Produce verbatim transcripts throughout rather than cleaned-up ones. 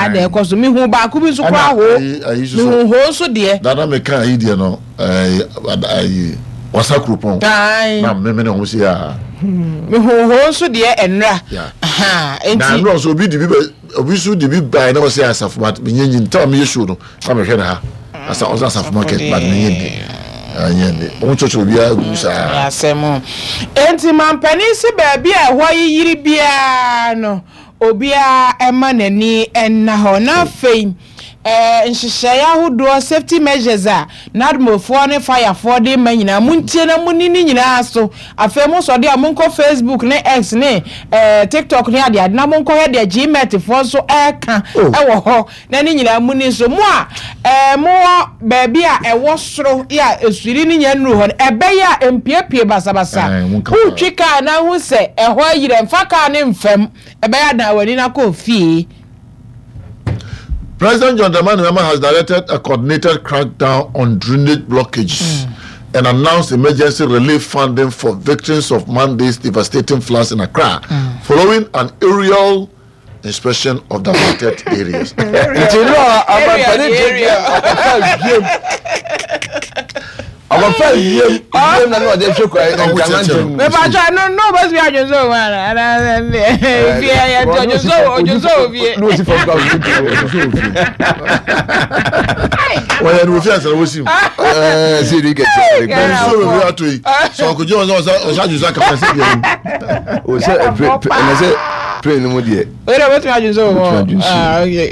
Saa na ɛkɔ so. Mehu baako bi nso koraa ho, mehu ho nso deɛ. Dada meka ayi deɛ no, ɛɛ ayi Wasa Kuropɔn na mmemme ne ho si a. Mehu ho nso deɛ ɛnra. Na nnora nso obi di bi bɛ, obi nso di bi ban na ɔsɛ Asafo, but menye nyi ntam a meyɛ show no na mehwɛ ne ha asa, ɔsɛ Asafo Market, but menye ndi anyɛ ndi wɔn kyerɛkyerɛ obiara gu saa. Asɛm enti mampanin si baabi a ɛhɔ yiyiri biara no, obiara ɛma n'ani ɛnna hɔ. Na afei ɛɛ nhyehyɛeɛ ahodoɔ, safety measures a NADMOfoɔ ne firefoɔ de ma nyinaa, montie na monni ne nyinaa so. Afei mo sɔde a monkɔ Facebook ne X ne ɛɛ TikTok ne adeade na monkɔhwɛ deɛ G M E T foɔ nso ɛɛka ɛwɔ hɔ na ne nyinaa mu ni so. Mo a ɛɛ mowɔ baabi a ɛwɔ soro yɛ a esuri ne nyɛ nnuru hɔ no, ɛbɛyɛ a mpiepie basabasa. Wotwi kaa na ho sɛ ɛhɔ ayirɛ, mfa kaa ne mfam, ɛbɛyɛ adan w'ani na kɔ fie. President John Dramani Mahama has directed a coordinated crackdown on drainage blockages mm. and announced emergency relief funding for victims of Monday's devastating floods in Accra mm. following an aerial inspection of the affected areas. Nti no abampani gyegye ɔkɔfa wiem, ɔkɔfa wiem wiem na ne ɔde hwɛ kura nkana ntɛm. Mepatwa no no bɛsumi adwonso wɔ mu ana ana fie yɛ nti ɔdwonso ɔdwonso wɔ fie. Ne osi fam kura ɔdwonso wɔ fie. Wɔyɛ no wofi asara wosim. Ɛɛ si di kɛse. Nsuo bebree ato yi sɛ ɔkɔgye wɔn sɛ ɔsɛ ɔsɛ adwonso akama sɛ bia mu. O sɛ ɛpre ɛnɛ sɛ plane no mu deɛ. Oye de bɛtumi adwonso wɔ mu. Ah, okay.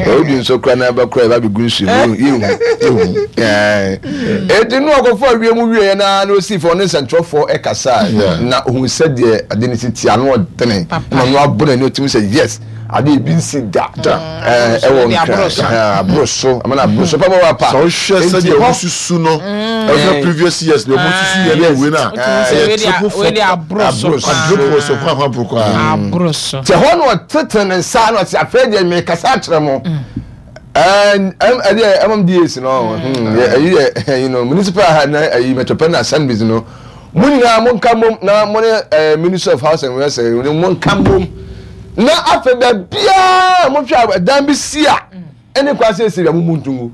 Ɔdi nso kura n'aba kura ɛba bɛ gu nsuo mu yehu yehu. Eti nu ɔkɔfo awie mu wie yɛ naa na osi fɔ ne nsɛntwerɛfoɔ ɛkasa na ohun sɛdeɛ ade ne si ti ano ɔdene na ɔno abo n'ani, otumi sɛ yes, ade ebi nsi da ɛwɔ Nkran, aboro so amana aboro so papa papa. Sɛ wohwɛ sɛdeɛ ɔmo susu no, ɛhwɛ previous years deɛ ɔmo susu yɛ ne wei na ɛyɛ triple four. Aboro so. Quadruple so kwan kwan poro koraa. Aboro so. Kyɛ hɔ na ɔtete ne nsa na ɔte, afei deɛ mekasa akyerɛ mo, ɛdeɛ M M D As no, ɛyi yɛ ɛyi no, municipal ha na ɛyi metropolitan assemblies no, mo nyinaa mo nka mom na mo ne Ministry of House and Works mo nka mom na afei baabiara mo hwɛ ɛdan bi si a ɛne kwan sɛ esi bi a mo mu ntungu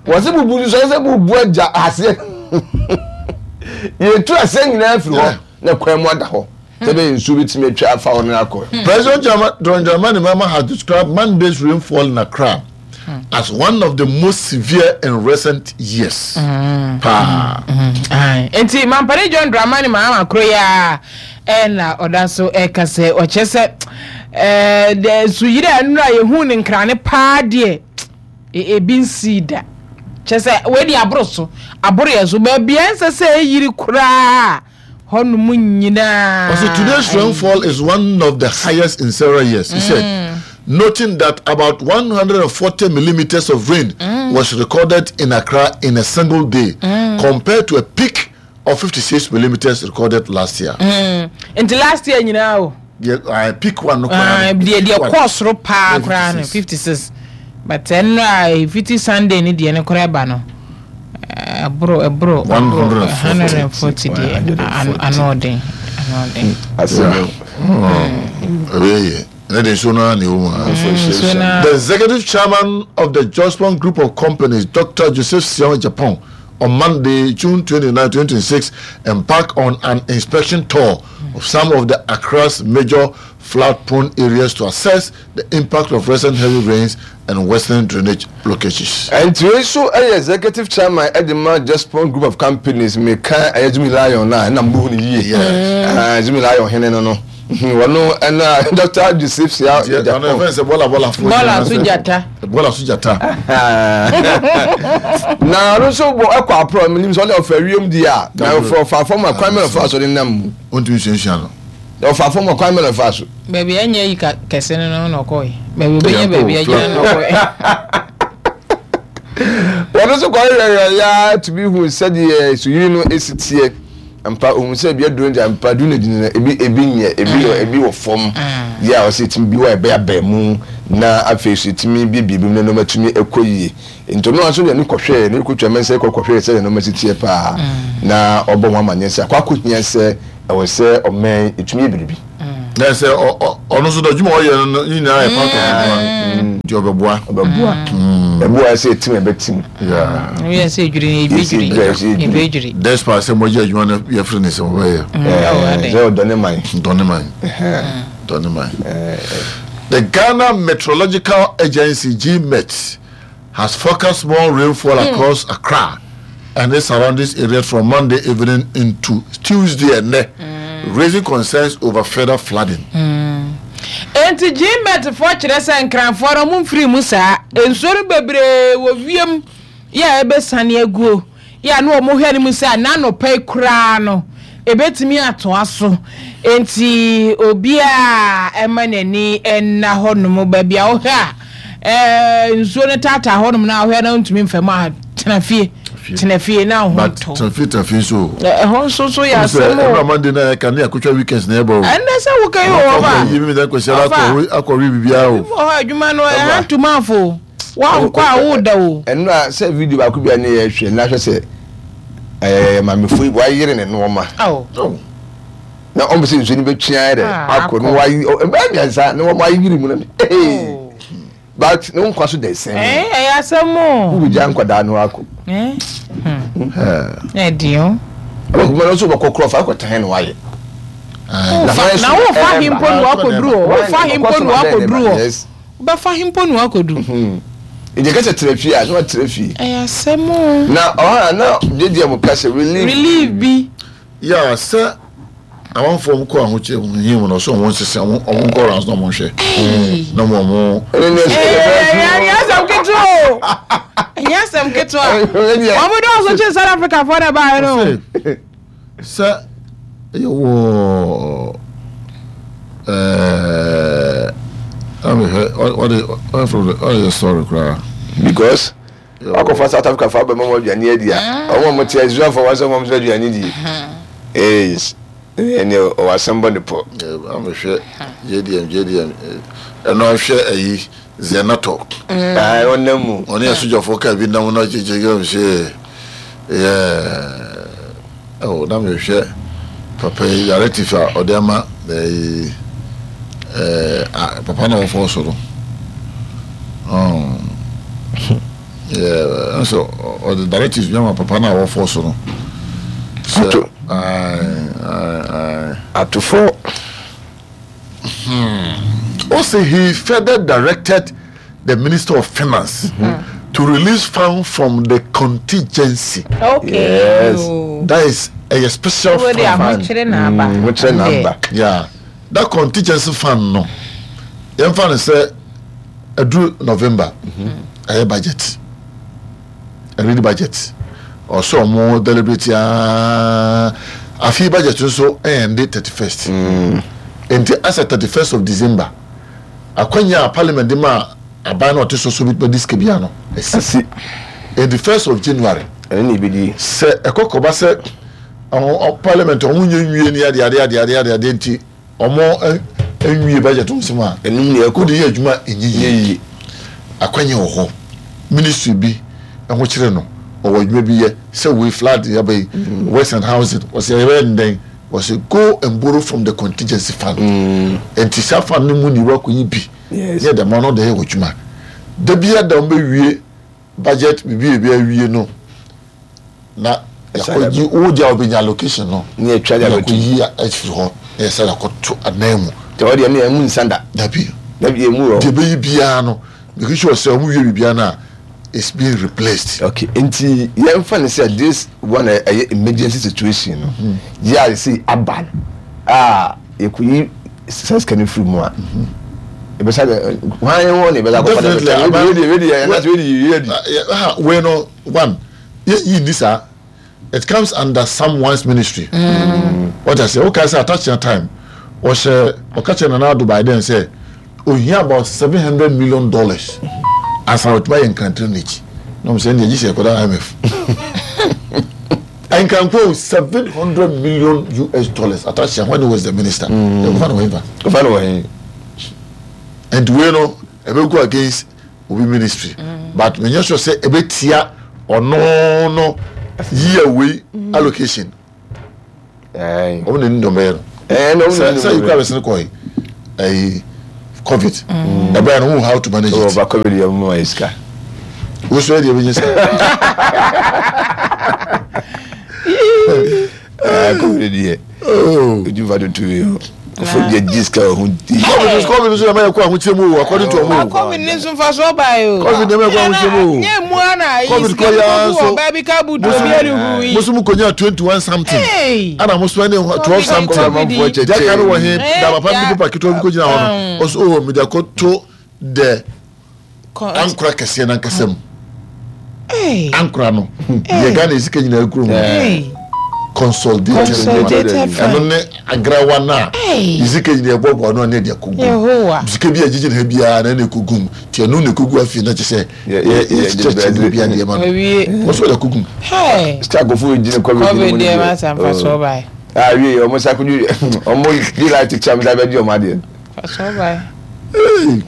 wɔsi bubu nso sɛ bubu agya aseɛ, yɛtu aseɛ nyinaa firi hɔ na kwan mu ada hɔ sɛ bɛyɛ nsuo bi tumi atwa afa hɔ no akɔ. President John Dramani Mahama has described Monday's rainfall in Accra as one of the most severe in recent years. Paa. Nti mampani John Dramani Mahama koro yi a ɛna ɔda so ɛka sɛ ɔkyɛ sɛ ɛɛ de nsuyiri a nnura yɛhu ne nkrane paa deɛ, ebi nsi da. Kyɛ sɛ wei de aboro so, aboro yɛ so, baabi a ɛnsɛ sɛ ɛyiri koraa hɔnom nyinaa. Also, today's rainfall is one of the highest in several years, he said, noting that about one hundred forty millimeters of rain mm. was recorded in Accra in a single day, mm. compared to a peak of fifty-six millimeters recorded last year. Mm. Nti last year nyinaa o. Yeah, uh, peak one no. Koraa. Deɛ deɛ kɔɔ soro paa koraa no fifty-six, but ɛno a fifty Sunday ni deɛ ne koraa ba no, ɛboro ɛboro ɛboro hundred and forty deɛ, ano ɔden, ano ɔden. Ɛbɛyɛ yɛ ne de nsuo no ara na ɛwɔ mu ha. The executive chairman of the Jospong Group of Companies, Doctor Joseph Siaw Agyepong, on Monday, June twenty-ninth, twenty twenty-six, embarked on an inspection tour of some of the Accra's major flood-prone areas to assess the impact of recent heavy rains and worsening drainage blockages. Nti wei nso yɛ executive chairman de ma Jospong Group of Companies, meka ɛyɛ Zumi Lion na ɛna mbuhu no yie, Zumi Lion hene no no wɔno ɛna Doctor Joseph Siaw Agyepong. Ɔno sɛ bɔla bɔla fo. Bɔla so gyata. Bɔla so gyata. Na ɔno nso bɔ ɛkɔ aporɔ mu nim sɛ ɔne ɔfɛ wiem di a na ɔfɛ ɔfa fam a, kwan mɛ ɔfa so de nam mu. Ɔntumi suasua no. Ɔfa fam a, kwan mɛ ɔfa so. Baabi ɛnyɛ yi kɛse no no na ɔkɔɛ, baabi obɛnya baabi agyina na ɔkɔɛ. Wɔn nso kɔ yɛyɛ ya tumi hu sɛdeɛ suyiri no esi teɛ mpa, ohun sɛ ebi aduro ngya mpa duro na gyina, ebi ebi nyɛ, ebi wɔ ebi wɔ fam yɛ a ɔsɛ etumi bi wɔ ɛbɛyɛ abɛn mu na afei so etumi biebie bi mu na nneɛma tumi ɛkɔ yie. Nti ɔno nso deɛ ne kɔhwɛ ne kotwa mɛnsa kɔ kɔhwɛ sɛ nneɛma si teɛ paa na ɔbɔ ho amaneɛ sɛ akɔ akɔ hia sɛ ɛwɔ sɛ ɔmɛn etumi yɛ biribi. Na sɛ ɔno nso dɔ adwuma ɔyɛ no nyinaa yɛ part of adwuma nti. Nti ɔbɛboa. Ɔbɛboa. Ɛboa sɛ etim ɛbɛtim. Yeah. Yɛ sɛ edwiri na Yɛsɛ ebedwiri. edwiri, yɛsɛ edwiri. Ebedwiri. Despite sɛ mogye adwuma no yɛfiri ne sɛ wɔbɛyɛ. Ɛɛ, sɛ ɔdɔ ne man. Dɔne man. Dɔne man. The Ghana Meteorological Agency G MET has forecast more rainfall across Accra and its surrounding areas from Monday evening into Tuesday and raising concerns over further flooding. Enti G MET foɔ kyerɛ sɛ Nkranfoɔ no ɔmo mfiri mu saa. Nsuo no bebree wɔ wiem yɛ a ɛbɛsane aguo. Yɛ a na ɔmo hwɛ no mu sɛ n'anɔpa yi koraa no ebetumi atoa so. Enti obiara ɛma n'ani ɛnna hɔnom baabi a wohwɛ a ɛɛ nsuo no taataa hɔnom na wohwɛ na ntumi nfam a, tena fie. Fie. Tena fie na ho But ntɔ. tena fie nso. Ɛ- ɛhɔ nso so yɛ Sɛ asɛm ɛbɛrɛ o. Monday na yɛka ne akotwa weekends na ɛbɔ o. Ɛnɛ sɛ woka yi wɔ hɔ ba. Yi mi dɛ kwasi ara Ɔfa. akɔ akɔwe biribiara o. Wɔ hɔ adwuma no ɛha ntoma afo wankɔ a woda o. Ɛno a sɛ video baako bi a ne yɛ hwɛ na hwɛ sɛ ɛɛ maamefo yi wayere ne nneɛma Aw. Oh. na ɔmo sɛ nsuo no bɛtwi ayɛ dɛ Ah, akɔ no akɔ. wayi ɛbɛyɛ mmiɛnsa na wɔn ayere mu no, ee, but ne nkwa so da ɛsɛn. Ɛɛ, ɛyɛ asɛm o. Wo gya nkwadaa no akɔ. Ɛɛ hmm ɛdi o. Ɔbɛkuma no nso bɛkɔ korɔ fa akɔtɛn na wayɛ. Wofa na wofa himpo na wakɔduru hɔ, wofa himpo na wakɔduru hɔ. Yes. Wobɛfa himpo na wakɔduru. Ìjẹ kẹsẹ̀ tẹrẹ fie a na wa tẹrɛ fie. Ɛyɛ asɛm o. Na ɔhàn na gyegye mu kasa relief. Relief bi. Yeah, sɛ amanfoɔ mo kɔ ahokyere mu hin mu na ɔsɛ ɔmo nsesa ɔmo ɔmo nkɔ rounds na ɔmo nhwɛ na ɔmo ɔmo. Ɛne ne Ɛyɛ ɛyɛ asɛm ketewa o, ɛyɛ asɛm ketewa. Wɔn dɔɔso kye South Africa fɔ na baa yɛ no. Ɔsɛ sɛ yɛwɔ ɛɛ amehwɛ ɔde ɔde ɔde yɛ story koraa. Because wakɔfa South Africa fa abɛma mu aduane adi a, ɔmo a mo te Israel fo wɔn sɛ ɔmo nso aduane di ee ɛne ɔwɔ asɛm bɔ ne pɔ. Amehwɛ J D M J D M ɛno ahwɛ ayi Zenato. Aa, ɔnam mu. Ɔne asogyafoɔ kaa bi nam na kyekyɛ kɛ sɛ yɛ ɛwɔ na mehwɛ papa yi directive a ɔde ama ɛyi ɛɛ a papa na wɔfɔ so no ɔn yɛ nso ɔde directive bi ama papa na wɔfɔ so no sɛ Ato. Ayi ayi ayi. Atofo. Also, he further directed the Minister of Finance to release funds from the contingency. Okay. Yes. O. That is a special Wo de fund. ahokyere na aba. Ahokyere na aba. Yeah, that contingency fund no. Yɛmfa no sɛ ɛduru November, ɛyɛ budget, ɛredi budget. Ɔsɛ ɔmo deliberate aa afi budget nso ɛyɛ ndi thirty first. Nti asɛ thirty first of December, akwanya a parliament de ma aban na ɔte so so bi di sika bia no ɛsi. Asi. Nti first of January, Ɛne na ebedi. Sɛ ɛkɔ kɔba sɛ ɔmo ɔ- parliament ɔmo nye nwie ni ade ade ade ade ade ade nti ɔmo ɛ- nwie budget nsɛm a Ɛnum na ɛkɔ. wode yɛ adwuma ɛnyɛ nyɛ yie. Yie. Akwanya wɔ hɔ, ministry bi ɛho kyerɛ no ɔwɔ adwuma bi yɛ sɛ wei flood yaba yi, works and housing, wɔsɛ yɛbɛyɛ ndɛn, wɔsɛ go and borrow from the contingency fund. Nti saa fund no mu ni wakɔyi bi Yes. yɛ dɛm ɔno de yɛ wɔ adwuma da bia da wɔn bɛwie budget bibi ebi awie no na yakɔyi wo deɛ a wɔbɛnya allocation no Ne yɛtwa de abɛto. yakɔyi afiri hɔ na yɛsɛ yakɔto anan mu. Tɛ ɔdeɛ ne ɛmu nsa da. Dabi. Dabi, emu wɔ. Deɛ ɛbɛyi biara no, make sure sɛ ɔmo wie biribiara no a, it's being replaced. Okay, nti yɛmfa ne sɛ this one a ɛyɛ emergency situation no yɛ a sɛ aba no a yɛkɔyi sika sika no firi mu a, ɛbɛsa dɛ hwan wɔ ne ɛbɛsa akɔfa dɛ Definitely, aban- wei deɛ wei deɛ ɛnase wei deɛ yɛ di. Uh, yeah, ah, wei no one yɛ yi ni saa, it comes under someone's ministry. What I say, okay, sɛ attach time ɔhyɛ ɔka kyerɛ Nana Addo by then sɛ ohia about seven hundred million dollars ansa ɔtuma yɛ Nkran drainage na ɔmo sɛ ɛnna gyi sɛ ɛkɔda I M F Nkranko seven hundred million U S dollars attach when he was the minister, ɛkɔfa na wɔn fa. Kɔfa no wɔ he? And wei no ɛbɛ go against obi ministry mm. but menyɛ sure sɛ ɛbɛ tia ɔno no yíyẹ wei allocation. Ɔmo na ni dɔm bɛyɛ no sɛ sɛ yikura bɛ sini kɔ yi ɛyi COVID. Ɛbɛyɛ no, how to manage it. Ɔba COVID yɛ mo ma yɛ sika. Wosɔ yɛ deɛ ebi nye sika. COVID deɛ. Ojú fa tutu yi o. Kofo deɛ gyi sika wɔ ho di. COVID COVID nso yɛ ma yɛ kɔ ahokyere mu o, according to ɔmo o. COVID ni nso fa so ɔba yi o. COVID deɛ ma yɛ kɔ ahokyere mu o. Nye mu ana yi COVID sika kɔ ya bi nso. wɔ baabi ka butu obi ɛni hu yi. Musu mu konya twenty one something. Hey. Ana musu ɛni twelve something. COVID. Deɛ ka no wɔ he Eh, da papa ya. bi paper ketewa bi ko gyina hɔ no. Ɔsɛ o mi de akɔto the Kɔ- ankora kɛseɛ nankasa mu. Hey. Ankora no. Deɛ Ghana esika nyinaa kuro mu. Hey. Consolidated. Consolidated Ɛno fund. ne agrawa no a Hey. sika nyinaa ɛbɔbɔ ano a ne yɛde akɔgu mu. Yehowa. Sika bi a gyegye ne ha biara na ɛna ɛkɔgu mu. Nti ɛno na ɛkɔgu afei na kyerɛ sɛ Yɛ- yɛ- yɛ- yɛkyekyɛ ne bi adeɛ ma no. Owie. Wɔn nso wɔde akɔgu mu. Hey. Sika kofo gyina COVID COVID deɛ ma sa nfa so ɔba yi. Ah wie ɔmo sa kojú ɔmo di light kyɛ ɔmo sa bɛ di ɔmo adeɛ. Fa so ɔba yi. Hey.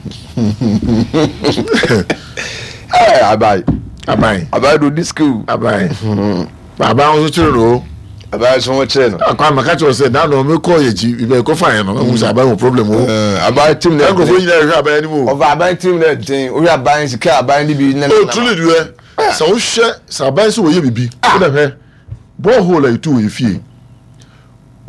Ɛɛ abayi Aban. abayi do di school. Aban. Aban nso kyerɛ no o. Abayi so wɔn kyerɛ no. Akwa maka kyerɛ sɛ na na ɔmo kɔ yɛ akyi ibɛ kɔ fa yɛn no ɛhu sɛ aban wɔ problem o. Ɛɛ abayi team na Nkurɔfoɔ nyinaa hwɛ aban anim o. Ɔfa abayi team na den orí abayi sika abayi ni bi nana. O truly deɛ sɛ wohwɛ sɛ aban sɛ wɔyɛ bibi wodɛ hwɛ borehole a yɛtu wɔ yɛ fie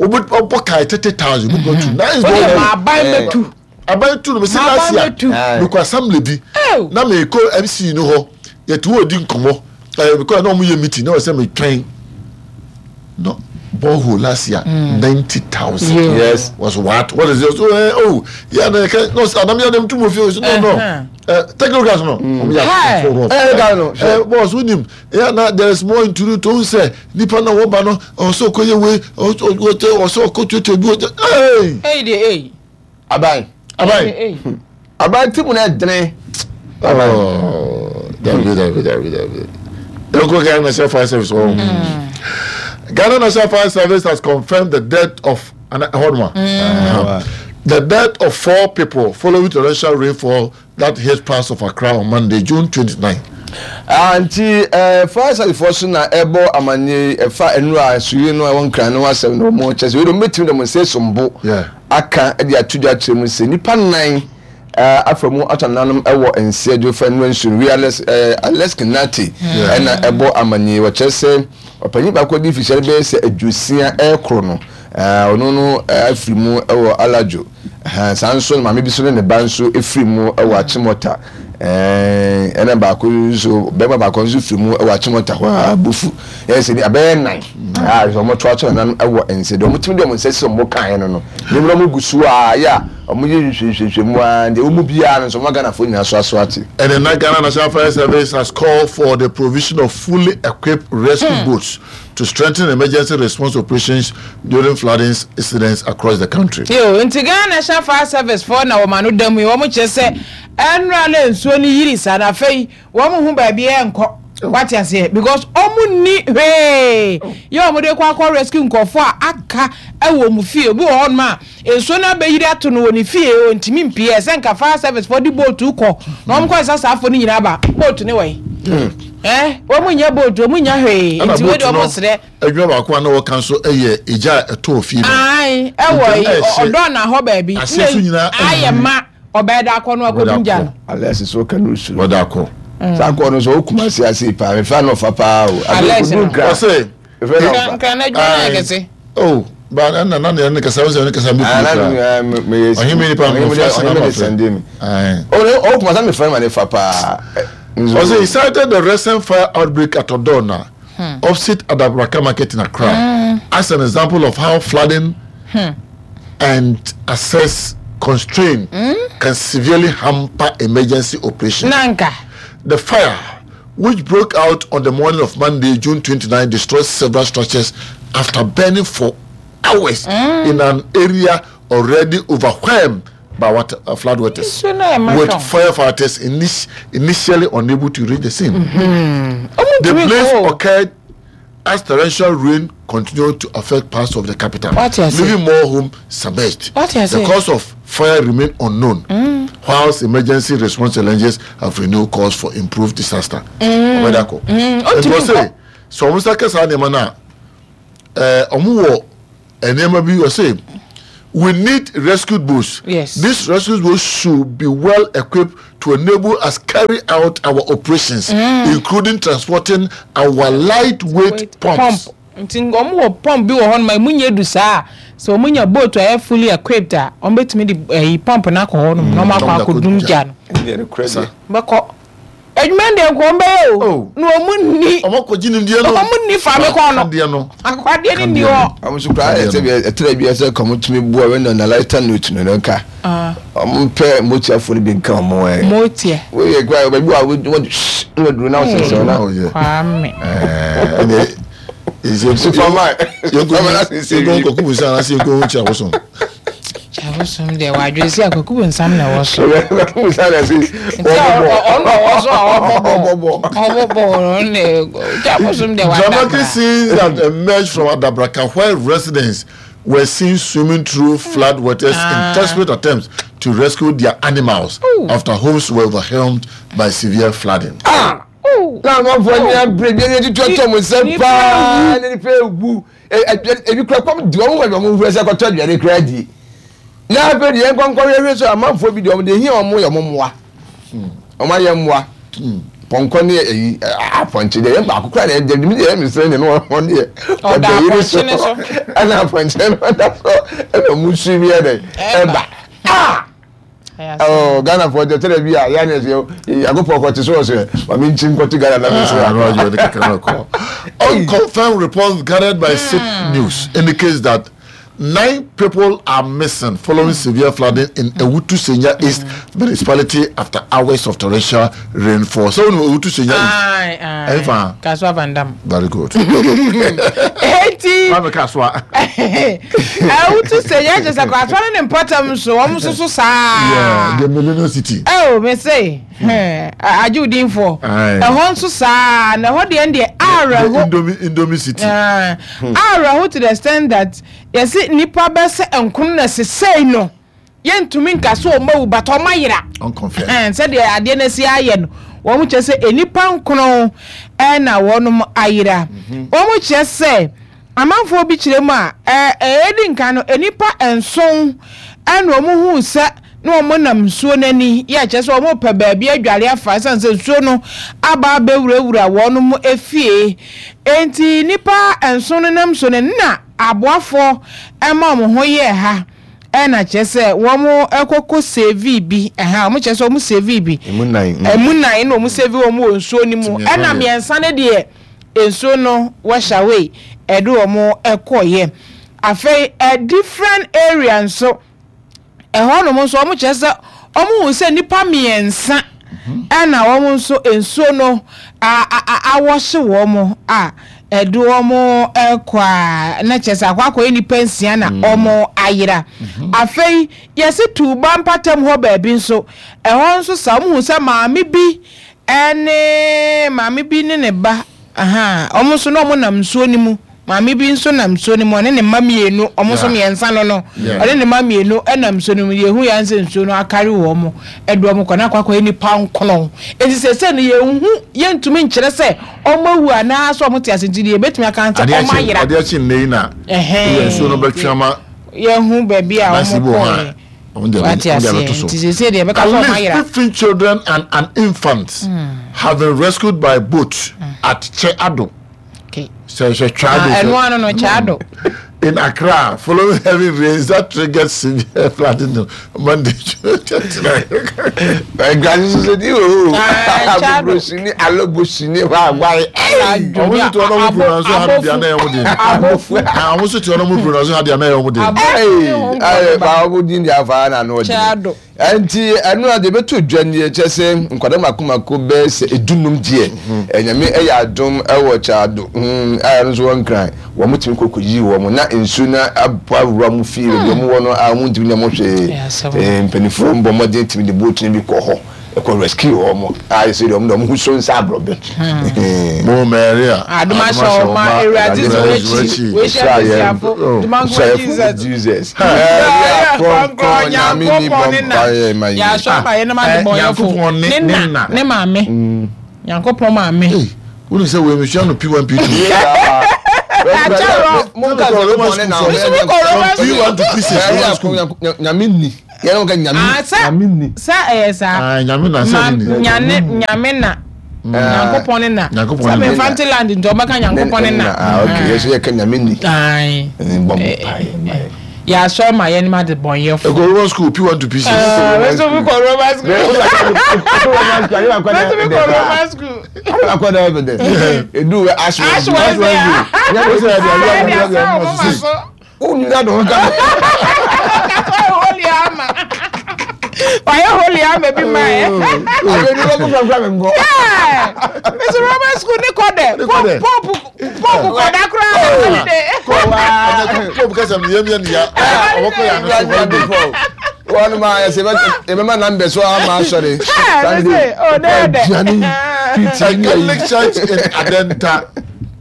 wobɔ kae thirty thousand wobɛtu tu nice O de ma borehole aban bɛ tu. Aban tu no mesi Ma aban last year bɛtu. Aye. mekɔ assembly bi Ew. na mekɔ M C no hɔ, yɛte hɔ di nkɔmmɔ, ɛɛ mekɔ na ɔmo yɛ meeting na ɔsɛ metwɛn no borehole last year ninety thousand. Yeah. Yes. Was what what is this? Oh, eh, oh yeah, na ka no anam ya dem tu mo fi no no Uh-huh. eh technocrats no ɔmo yɛ Hey. akɔfo rough. Ɛ ɛ no. Eh, boss, wonim yeah, na there is more into it. Ohun sɛ nipa na wɔba no ɔsɛ ɔkɔ yɛ wei, ɔsɛ ɔkɔ tuatua bi ɔsɛ hey. Eyi de eyi. Abayi Aban. Eyi. Abayi team na den. Oh, dabi dabi dabi dabi. Eko Ghana National Fire Service wɔn. Ghana National Fire Service has confirmed the death of an hold on. Uh, the death of four people following torrential rainfall that hit parts of Accra on Monday, June twenty-nine. Ah, nti ɛɛ fire service foɔ so na ɛbɔ amaneɛ ɛfa nnura nsuyiri no a ɛwɔ Nkran no asɛm na wɔn kyɛ sɛ wei de wɔn bɛtumi de wɔn nsa esombo Yeah. aka ɛde ato dwa kyerɛ mu sɛ nipa nnan ɛɛ afa mu atɔ nanom ɛwɔ nseɛ fa nnura nsuo no wei Alex ɛɛ Alex Kinati ɛna ɛbɔ amaneɛ. Wɔkyerɛ sɛ ɔpanyin baako di fihyɛ bɛyɛ sɛ aduosia ɛɛkoro no, ɛɛ ɔno no ɛɛ afiri mu ɛwɔ Alajo. Ɛhɛn, saa nso no maame bi so ne ne ba nso efiri mu ɛwɔ Achimota, ɛɛ ɛna baako nso, bɛrima baako nso firi mu ɛwɔ Achimota hɔ a bufu ɛyɛ sɛ ni abɛyɛ nnan a wɔn to ato nanan ɛwɔ nse deɛ wɔn tumi de wɔn nsa si wɔn kan no no ne mu na wɔn gu so a yɛ a wɔn yɛ nhwehwɛhwɛ mu a deɛ wɔn mu biara no nso wɔn Ghanafoɔ nyinaa so aso ate. And the Ghana National Fire Service has called for the provision of fully equipped rescue boats to strengthen emergency response operations during flooding incidents across the country. Yo, nti Ghana National Fire Service foɔ na wɔn ano da mu yi, wɔn kyerɛ sɛ ɛnura na nsuo no yiri saa na afei wɔn ho baabi ɛnkɔ, wate aseɛ, because wɔn ni hwee yɛ wɔn de kɔ akɔ rescue nkɔfoɔ a aka ɛwɔ wɔn fie. Obi wɔ hɔnom a nsuo no abɛyiri ato no wɔ ne fie, ontumi mpie. Ɛsɛ nka fire service foɔ de boat kɔ na wɔn kɔ ɛsɛ saa afɔ no nyinaa ba boat ne wɔ yi ɛ wɔn nyɛ boat, wɔn nyɛ hwee. Ɛna Nti wɔn de boat no wɔn srɛ. Adwuma baako a na wɔka nso yɛ egya a ɛtɔɔ fie no. Ayi, ɛwɔ Nti yi ɛhyɛ- ɔdɔ na hɔ baabi. Aseɛ so nyinaa ayɛ ma ɔbɛyɛ da akɔ no akɔdum gya no. Alex so ka no suro. Wɔda akɔ. Saa kɔɔ no so o kuma se ase paa mefa no ɔfa paa o. Alex no. Ɔsɛ Efe na ɔfa. Nkran adwuma no yɛ kɛse. Oh, ba na na na ne kasa wɔn sɛ ne kasa mi Ah, na kura. eh, me- me- Ɔhene mi nipa ɔhene mi de- mmɔfra sɛ ɔhene mi de na sɛnde mi. Aye. O o kuma sa mi fɛn ma ne fa paa. Eh, nso- Ɔsɛ he cited the recent fire outbreak at Odona, opposite Adabraka Market in Accra, as an example of how flooding and access constraint can severely hamper emergency operations. Nanka. The fire, which broke out on the morning of Monday, June twenty-nine, destroyed several structures after burning for hours in an area already overwhelmed by water, uh, flood waters, Nsuo no ayɛ ma with hwɛ. firefighters init- initially unable to reach the scene. Ɔmo The ntumi blaze kɔ o. occurred as torrential rain continued to affect parts of the capital, What you say? leaving more homes submerged. What you The say? cause of fire remained unknown, whilst emergency response challenges have renewed calls for improved disaster. Ɔbɛdako. Mm, Nti ɔntumi wɔ sɛ nkɔ. sɛ ɔmo nsa kɛ saa nneɛma no a, ɛɛ ɔmo wɔ nneɛma bi wɔ sɛ We need rescue boats. Yes. These rescue boats should be well equipped to enable us carry out our operations, mm. including transporting our lightweight Wait, pumps. Pump. Nti wɔn wɔ pump bi wɔ hɔ nom a emu nyɛ du saa sɛ wɔn nya boat a ɛyɛ fully equipped a wɔn bɛtumi de ɛyi pump no akɔ hɔ nom na wɔn akɔ akɔdum gya no. Bɛkɔ adwuma deɛ nka wɔn bɛyɛ o na wɔn nni wɔn akɔgye nimdeɛ no wɔn nni faame kɔn no akwadeɛ no nni hɔ. Wɔn nso koraa ɛsɛ bi ɛtɛrɛ bi ɛsɛ kɔn tumi bu a wɔn na lighter note no nka wɔn pɛ motiafoɔ no bi nka wɔn ɛ. Motia. Woyɛ kura baabi wa wɔn wɔn wɔn duro na wɔn sɛnsɛn na. Kwame. Ɛɛ Superman. Yɛnkɔ Kwaku Bonsam anaasɛ yɛnkɔ hu Kyabosom. Kyabosom deɛ wadwene sɛ Kwaku Bonsam na ɛwɔ so. Kwaku Bonsam na ɛsɛ ɔbɔbɔ. Ɔno ɔwɔ so a ɔbɔbɔ. Ɔbɔbɔ ɔno na Kyabosom deɛ wadabra. Dramatic scenes that emerged from Adabraka where residents were seen swimming through flood waters ah. in desperate attempts to rescue their animals Ooh. after homes were overwhelmed by severe flooding. Ah! Na amanfoɔ ni abere bi ɛni tutu ɛtɔ mo nsɛm paa ne nipa ewu ebi kura kɔm di wɔn wɔ wɔn hwɛ sɛ kɔtɔ aduane kura di na afei deɛ nkɔnkɔ hwɛ so amanfoɔ bi deɛ wɔn deɛ hia wɔn yɛ wɔn mmoa wɔn ayɛ mmoa pɔnkɔ ne ɛyi apɔnkye deɛ yɛn baako kura na ɛdeɛ mi deɛ ɛmi sɛ ne no wɔn deɛ ɔda yiri so ɛna apɔnkye no ɔda so ɛna ɔmo su bi ɛdɛ ɛba aa. Oh, Ghana for the tell bi a ya ne se yakopɔ kɔ te so so ma me nkyim kɔ Ghana na me so. Unconfirmed reports gathered by S I P News indicates that nine people are missing following severe flooding in Ewutu Senya East municipality after hours of torrential rainfall. So, Ewutu Senya East. Aye, aye. Kaswa Van Dam. Very good. Eti. Mama Kaswa. Ewutu Senya just Kaswa ne mpatam so. Omo so so sa. Yeah, the Millennium City. Oh, me say. Aju din for. Ehon so sa na ho de de ara ho. Indomie Indomie City. Ah. Ara ho to the extent that yɛsi nipa bɛsɛ nkun na sesei no yɛntumi nka so ɔma wu but ɔma yera sɛdeɛ adeɛ no asi ayɛ no wɔn kyerɛ sɛ nipa nkono ɛna wɔnom ayera wɔn kyerɛ sɛ amanfoɔ bi kyerɛ mu a ɛɛ ɛdi nka no nipa nson ɛna wɔn hu sɛ na wɔn nam nsuo n'ani yɛ kyerɛ sɛ wɔn pɛ baabi adware afa ɛsan sɛ nsuo no aba abɛwurawura wɔn efie enti nipa nson no nam nsuo no na aboafo ɛma wɔn ho yɛ ha ɛna kyerɛ sɛ wɔn ɛkɔkɔ save bi ɛha wɔn kyerɛ sɛ wɔn save bi emu nan emu nan na wɔn save wɔn wɔ nsuo no mu ɛna mmiɛnsa no deɛ nsuo no wash away ɛde wɔn ɛkɔyɛ afei ɛ different area nso ɛhɔ nom nso wɔn kyerɛ sɛ wɔn hu sɛ nipa mmiɛnsa ɛna wɔn nso nsuo no a a awɔhye wɔn a ɛde wɔn ɛkɔ a na kyerɛ sɛ akɔ akɔyɛ nipa nsia na wɔn ayera afei yɛsi tuuba mpatam hɔ baabi nso ɛhɔ nso sa wɔn hu sɛ maame bi ɛne maame bi ne ne ba aha wɔn nso na wɔn nam nsuo no mu maame bi nso nam nsuo no mu ɔne ne mma mmienu wɔn nso mmiɛnsa no no ɔne ne mma mmienu ɛnam nsuo no mu yɛhu yɛn sɛ nsuo no akari wɔn ɛde wɔn kɔ na akɔ akɔyɛ nipa nkono eti sɛ sɛ no yɛnhu yɛntumi nkyerɛ sɛ wɔn awu anaa sɛ wɔn te ase nti deɛ yɛbɛtumi aka sɛ wɔn ayera adeɛ akyi nne yi na yɛn nsuo no bɛtwe ama yɛhu baabi a wɔn kɔɔ At least fifteen children and an infant mm. have been rescued by boat mm. at Cheado. Okay. So, so Chado. Ah, no, no, Chado. In Accra, following heavy rains that triggered severe flooding on Monday. Nti ɛno a de bɛto dwa nie kyɛ sɛ nkwadaa mako mako bɛɛ sɛ edunum deɛ ɛnyame ɛyɛ adom ɛwɔ Kyado a ɛno nso wɔn nkran wɔn tumi kɔkɔ yi wɔn na nsuo na abɔ awura mu fie baabi wɔn wɔ no a wɔn ntumi nyɛ mo hwee mpanimfoɔ mbɔ mmɔden tumi de boat no bi kɔ hɔ ɛkɔ rescue wɔn a yɛ sɛ deɛ wɔn de wɔn ho so nsa aborɔbɛ. Mo Maria adom ahyɛ wɔn ma Awurade sɛ wɔakyi wɔahyia Kristiafo dumankoma Jesus Maria kronkron Nyame ni bɔ mpaeɛ ma yɛn. Yɛasɔ ama yɛn nam adebɔnyɛfo ne na ne maame Nyankopɔn maame. Wọ́n sẹ́ wọ́n emisua no P one P two. Nyame ni. Yɛn ka nyame. Nyame ni. Sɛ ɛyɛ saa. Nyame na sɛ ni. Nyame nyame na. Nyankopɔn ne na. Sɛ me land nti ɔbɛka Nyankopɔn ne na. Ah okay. Yɛsɛ yɛka nyame ni. Aye. Ya so ma yɛn ma de bɔn yɛ fo. Ɛkɔ Roman school P one to P six. Ah, me so kɔ Roman school. Roman school. Me so kɔ Roman school. Akɔ da evidence. Edu we ash Ash Wednesday. Unu da do ka. Ka holy ama. Why holy ama bi ma eh. Abe ni ko fra fra me ngo. Yeah. Me so Roman school ni kɔ dɛ. Pope pope pope kɔ da kura holiday. Pope kasa mi yem yem ya. Ɔbɛkɔ ya no so holiday. Wɔn ma yɛ sɛ ɛbɛma numbers so ama asɔre. Sunday. Oh, there there. Catholic Church in Adenta.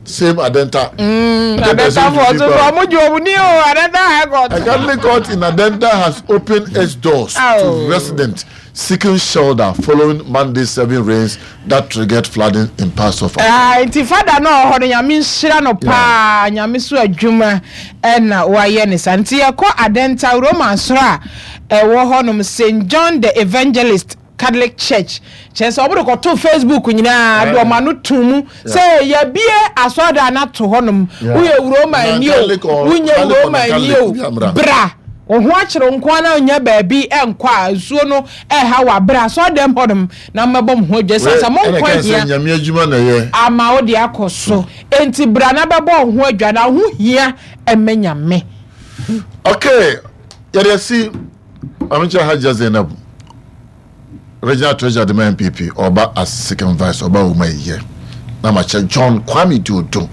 Same Adenta. Mm, Adenta for so for mu ni o Adenta High Court. A Catholic court in Adenta has opened its doors oh. to residents seeking shelter following Monday's heavy rains that triggered flooding in parts of. Ah, nti father no ho no nyame nhyira no pa, nyame so adwuma e na wa ye ne sa. Nti yɛkɔ Adenta Roman soro a ɛwɔ hɔ nom Saint John the Evangelist Catholic Church. Kyerɛ sɛ ɔmo de kɔto Facebook nyinaa de ɔmo ano to mu sɛ yɛbie asɔredan no ato hɔnom. Woyɛ Roma ni o, wonyɛ Roma ni o, bra. Wo ho akyerɛ nko ara na onya baabi ɛnkɔ a nsuo no ɛha wɔ abra asɔredan hɔnom na mmɛbɔ mo ho adwa sɛ sɛ mo nkɔ hia. Nyame adwuma na ɛyɛ. Ama wo de akɔ so. Enti bra na bɛbɔ wo ho adwa na ho hia ɛmɛ Nyame. Okay, yɛde asi Amicha Hajia Zainab. Regional Treasurer de M P P Oba as second vice Oba Uma ye. Na mache John Kwame Diodo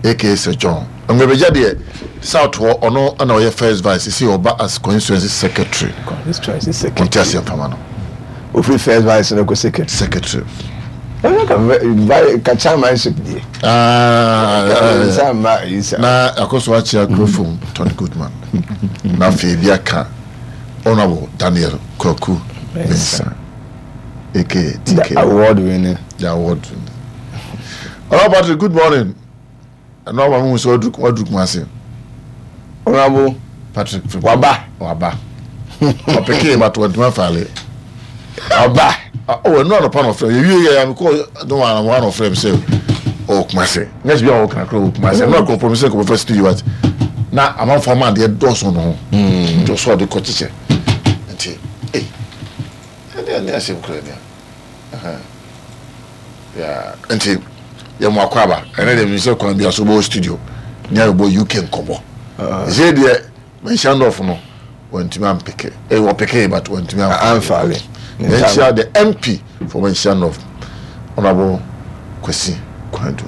aka Sir John. Ngwebeja de South ho ono na oye first vice see Oba as constituency secretary. Constituency secretary. Constituency famano. Ofri first vice no ko secretary. Secretary. Ka chairmanship de. Ah, na akoso achia Krofum Tony Goodman. Na fe ka Honorable Daniel Kwaku Mensah. A K A T K. The award winner. The award winner. Honorable Patrick, good morning. And now I'm going to do what Honorable Patrick. Waba. Waba. Opeke but what my family. Waba. Oh, no no pan of you you I'm call no one one of them say oh Kumasi. Next be all can call Kumasi. No go promise go first studio but na am for man dey doors on ho. Just so the coach. Nti eh ne asem kra ne. Aha. Yeah, nti ye mo akwaba. Ene de mi se kwan bi aso bo studio. Ni ayo bo U K nkobo. Ze de mention of no wantimi ampeke. Eh wo peke but wantimi amfale. Mention the M P for mention of Honorable Kwesi Kwandu.